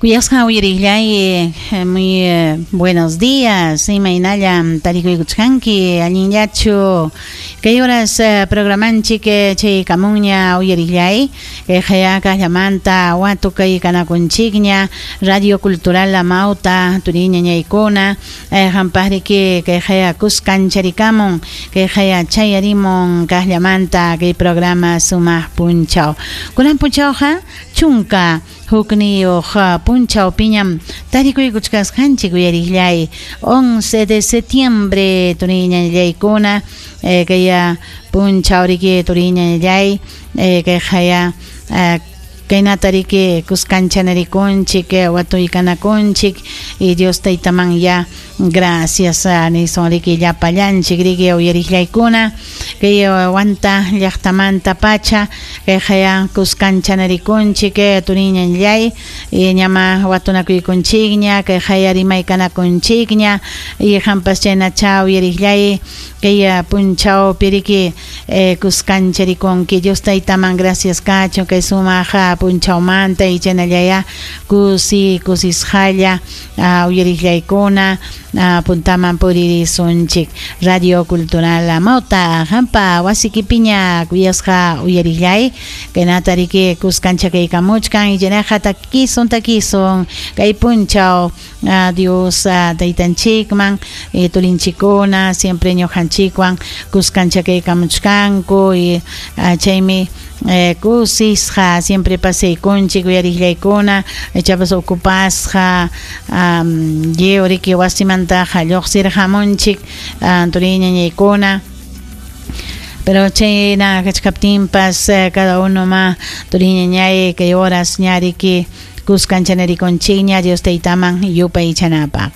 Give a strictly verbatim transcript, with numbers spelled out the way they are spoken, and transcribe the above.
Kuyasqa uyariqllay, muy buenos días, imaynallam tarikuykuchkanki, allinllachu kay horas programanchik chaykamunña uyariqllay, kay hayakallamanta watukay kanakunchikña Radio Cultural Amauta turiñañaykuna, hampaqriki kay haya kuskancharikamon, kay haya chayarimun kasllamanta kay programa sumaq punchaw. Kunan punchawqa chunka hukniyuq punchaw piñam tarikuykuchkasqanchik uyariqllay, once de septiembre turiñañaykuna, kay punchaw riki turiñañallay, kay haya kaynata riki kuskanchanarikunchik watuykanakunchik y Dios taytaman ya gracias nisun riki llapallanchik riki uyariqllaykuna kay wanta llaqtamanta pacha kay haya kuskanchanarikunchik turiñañallay y ñama watunakuykunchikña kay haya rimaykanakunchikña y hampas chaynacha uyariqllay kay punchaw piriki kuskancharikunki Dios taytaman gracias kachun kay sumaq punchawmanta y chaynallaya kusi kusisqalla uyariqllaykuna puntaman puririsunchik Radio Cultural Amauta hampa wasikipiña kuyasqa uyariqllay kaynata riki kuskanchakaykamuchkan y chaynaqa takisun takisun kay punchaw Dios taytanchikman turinchikuna siempre ñuqanchikwan kuskanchakaykamuchkanku y chaymi kusisqa siempre pasaykunchik uyariqllaykuna ichapas ocupasqa lliw riki wasimantaqa lluqsirqamunchik turiñañaykuna. Pero chayna kachkaptinpas cada uno ma turiñañay kay horas ñariki kuskanchanarikunchikña Dios taytaman yupaychanapaq.